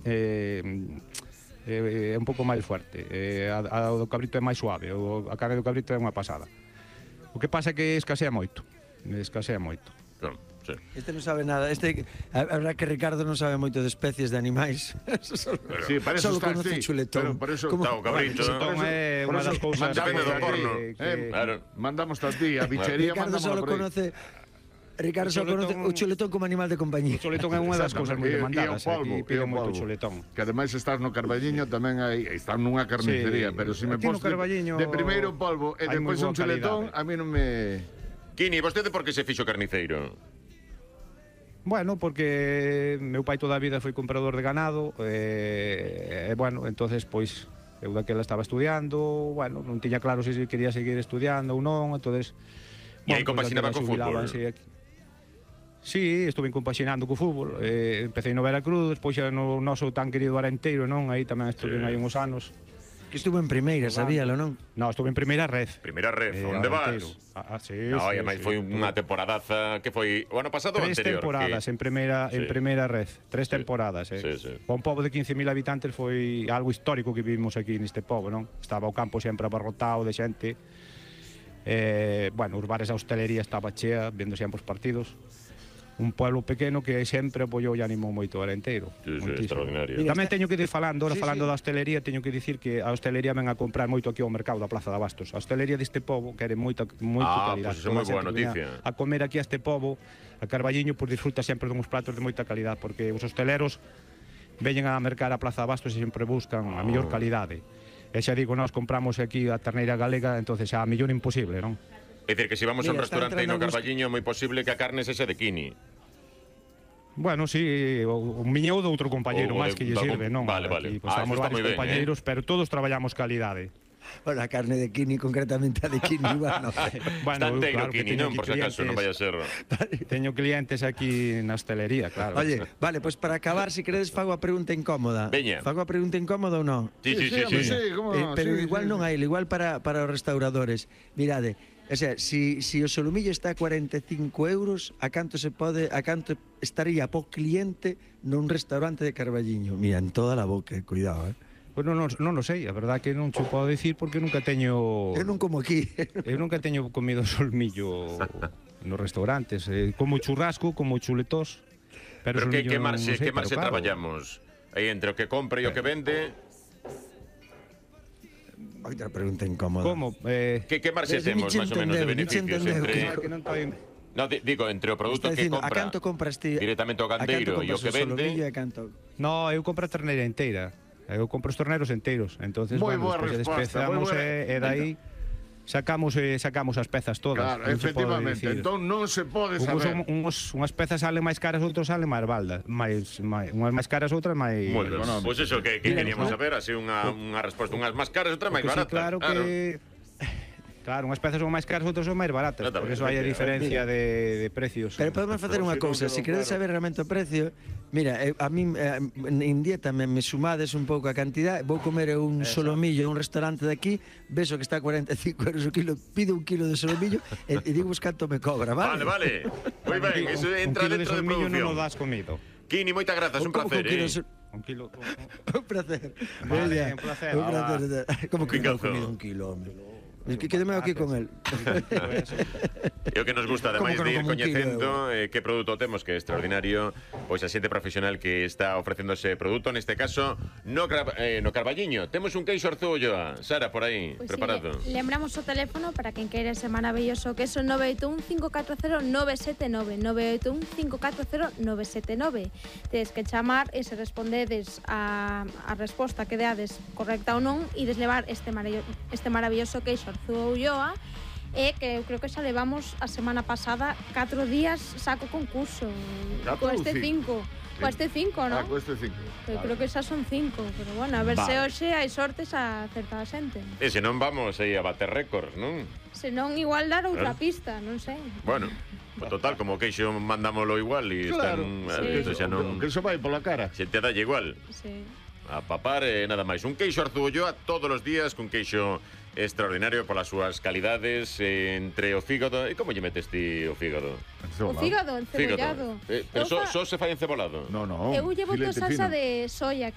é un pouco máis fuerte. A do cabrito é máis suave, a carne do cabrito é unha pasada. O que pasa é que escasea moito. Claro, sí. Este non sabe nada. A verdad que Ricardo non sabe moito de especies de animais. Sí, para eso Solo está conoce así. chuletón. Por eso Está o cabrito. Chuletón é unha das cousas Depende do porno. Claro. Mandamos a ti, a bichería Ricardo mandamos solo por aí. conoce o chuletón como animal de compañía. O chuletón é unha das cousas moi demandadas. Aquí pide moito chuletón. Que ademais estás no Carballiño tamén estás nunha carnicería, pero se me aquí no pos Carballiño de primeiro polvo e hai depois moi un boa chuletón, calidade. a mí non me... Quini, vostede por que se fixo carniceiro? Bueno, porque meu pai toda a vida foi comprador de ganado bueno, entonces pois eu daquela estaba estudiando, bueno, non tiña claro se quería seguir estudiando ou non, entonces E aí compaxinaba co fútbol? Sí, estuve compaxinando co fútbol, empecé no Veracruz, despois xa no noso tan querido Arenteiro, non? Aí tamén estuve aí uns anos. Que estuvo en primeira, sabíalo, non? No, estuve en primeira red. Primeira red, onde vas? Sí, No, sí, e máis foi unha temporadaza que foi o ano pasado ou anterior? 3 temporadas en primeira red. 3 temporadas, Sí, sí. Para un pobo de 15.000 habitantes foi algo histórico que vivimos aquí neste pobo, non? Estaba o campo sempre abarrotado de xente. Bueno, os bares, a hostelería estaba chea, vendo sempre os partidos. Un pueblo pequeno que sempre apoiou e animou moito o Arenteiro. Sí, extraordinario. Tamén teño que ir falando da hostelería, teño que dicir que a hostelería ven a comprar moito aquí ao mercado da Plaza de Abastos. A hostelería deste pobo quere moita calidad. Pois iso é moi boa noticia. A comer aquí a este pobo, a Carballiño, pois disfruta sempre dunhos platos de moita calidad, porque os hosteleros veñen a mercar a Plaza de Abastos e sempre buscan a mellor calidade. E xa digo, nós compramos aquí a terneira galega, entonces a mellor imposible, non? É dicir, que se vamos a un Mira, restaurante no Carballiño é moi posible que a carne sexa de Quini. Bueno, sí, o miño ou do outro compañeiro máis que lle sirve, non? Vale. Aquí, pues, estamos está moi varios ben, compañeiros, pero todos traballamos calidade. Bueno, a carne de Quini, concretamente a de Quini, bueno. Está enteiro Quini, non? Por si acaso, non vai a ser... Teño clientes aquí na hostelería, claro. Oye, vale, pois para acabar, se queredes, fago a pregunta incómoda. Veña. Fago a pregunta incómoda ou non? Sí. Pero igual non hai, igual para os restauradores. Mirade, o sea, si o solomillo está a 45 euros, a canto estaría po cliente nun restaurante de Carballiño? Mira, en toda la boca, cuidado, Pois non o sei, a verdad que non che podo dicir porque nunca teño... Eu non como aquí. Eu nunca teño comido solmillo nos restaurantes. Como churrasco, como chuletós. Pero que marxe traballamos? Aí entre o que compra e o que vende... Outra pregunta incómoda. Como? Que marxe temos, máis ou menos, de beneficios entre... No, digo, entre o produto que compra... A canto compras ti? Directamente o gandeiro e o que vende... No, eu compro a terneira inteira. Eu compro os torneros enteiros. Entonces, bueno, despois despezamos e dai sacamos as pezas todas. Claro, efectivamente. Entón non se pode saber. Unhas pezas salen máis caras, outras salen máis baldas. Unhas máis caras, outras máis... Bueno, pois iso que queríamos saber, así unha resposta. Unhas máis caras, outras máis baratas. Claro que... Claro, unhas pezas son máis caras, outras son máis baratas. Por eso hai a diferencia de precios. Pero podemos facer unha cousa, se queredes saber realmente o precio, mira, a mí en dieta me sumades un pouco a cantidad, vou comer un solomillo en un restaurante de aquí, beso que está a 45 euros o kilo, pido un kilo de solomillo e digo canto me cobra, vale? Vale. Moi ben, iso entra dentro de producción. Non o das comido. Quini, moitas grazas, un placer, Un kilo... Un placer. Vale, un placer. Un placer. Como que non comido un kilo, hombre? Que quedeme aquí con el. E o que nos gusta, ademais de ir coñecendo que produto temos, que é extraordinario, pois a xente profesional que está ofrecendo ese produto, neste caso no Carballiño. Temos un queixo Arzúa Ulloa. Sara, por aí, pues preparado. Sí, lembramos o teléfono para quen queira ese maravilloso queso 981-540-979 981-540-979. Tedes que chamar e se respondedes a resposta que deades correcta ou non e deslevar este maravilloso queixo Arzúa Ulloa, e que eu creo que xa levamos a semana pasada 4 días saco concurso co este 5, non? Co este 5. Eu creo que xa son 5, pero bueno, a ver se hoxe hai sortes a certa xente. E se non vamos aí a bater récords, non? Se non igual dar outra pista, non sei. Bueno, total, como o queixo mandámolo igual e están... Que iso vai pola cara. Se te dalle igual. Sí. A papar e nada máis. Un queixo Arzúa Ulloa todos os días, cun queixo extraordinario polas súas calidades, entre o fígado... E como lle metes ti o fígado? O fígado encebollado. Pero só se fai encebolado? No. Eu lle boto salsa de soia,